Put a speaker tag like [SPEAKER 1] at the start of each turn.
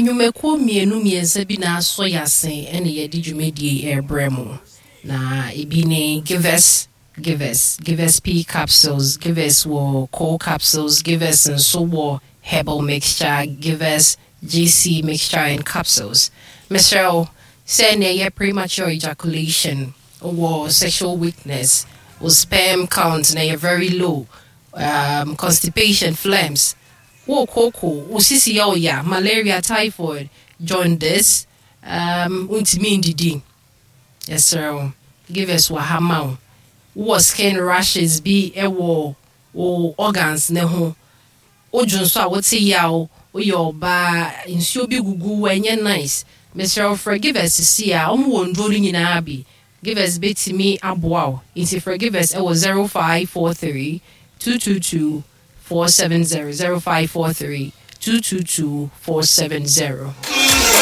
[SPEAKER 1] Nnwumakuo mmienu mmiɛnsa bi na asɔ yɛn ase na yɛde dwumadie yi rebrɛ mo. Na ebi ne Givers, Givers, Givers P capsules, Givers wɔ Coal capsules, Givers nso wɔ herbal mixture, Givers GC mixture and capsules. Mesrɛ wo, sɛ na ɛyɛ premature ejaculation, wowɔ sexual weakness, wo sperm count na ɛyɛ very low, constipation, phlegms, wo kooko, wo sisi yɛ wo ya, malaria, typhoid, jaundice, wontumi ndidi. Yɛsrɛ wo, Givers wɔ ha ma wo. Wowɔ skin rashes bi wɔ wo organs ne ho, wodwo nso a wote yaw, woyɛ ɔbaa, nsuo bi gugu wo, ɛnyɛ nice. Mesrɛ wo frɛ Givers sisi a, wɔn wɔ nnuro no nyinaa bi. Givers bɛtumi aboa wo, nti frɛ Givers wɔ 0543 222 470, 0543 222 470.